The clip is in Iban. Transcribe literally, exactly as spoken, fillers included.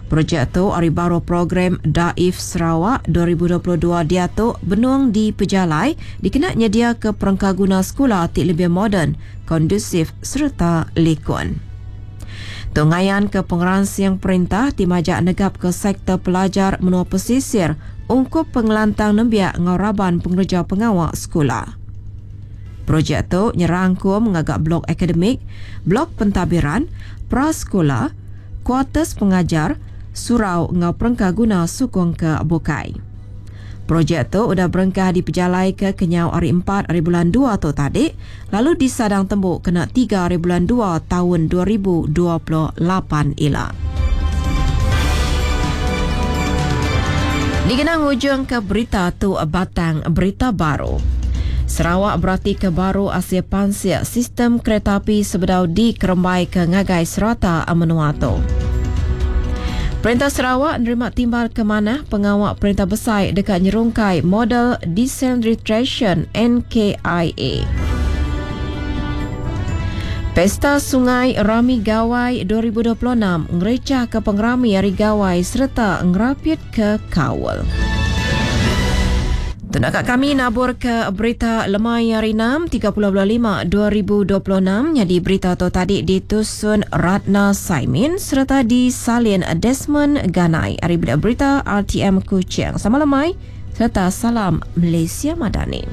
Projek tu ari baruh program Daif Sarawak dua ribu dua puluh dua diatu benung dipejalai dikena nyediaka perengkaguna sekula ti lebih moden, kondusif sereta likun. Tu ngayan ke pengeransing perintah ti majak negap ke sektor pelajar menua pesisir ungkup pengelantang nembiak enggau raban pengereja pengawa sekula. Projek tu nyerangkum ngaga blok akademik, blok pentadbiran, prasekula, kuarters pengajar, surau enggau perengkaguna sukung ke bukai. Projek tu udah berengkah dipejalai ke kenyau hari empat hari bulan dua tu tadi, lalu disadang tembu kena tiga hari bulan dua tahun dua ribu dua puluh lapan ila. Dikenang ujung ke berita tu batang berita baru. Sarawak berarti ke baru asil pansik sistem kereta api sebedau dikerembai ke ngagai serata menua tu. Perintah Sarawak nerima timbal ke manah pengawak perintah besai dekat nyerungkai model decentralization N K I A. Pesta Sungai Rami Gawai dua ribu dua puluh enam ngerecah ke pengerami Hari Gawai serta ngerapit ke Kaul. Tunaka kami nabur ke berita lemai hari enam, tiga puluh bulan lima, dua ribu dua puluh enam. Jadi berita tu tadi ditusun Ratna Saimin serta disalin Desmond Ganai. Hari berita R T M Kuching. Sama lemai serta salam Malaysia Madani.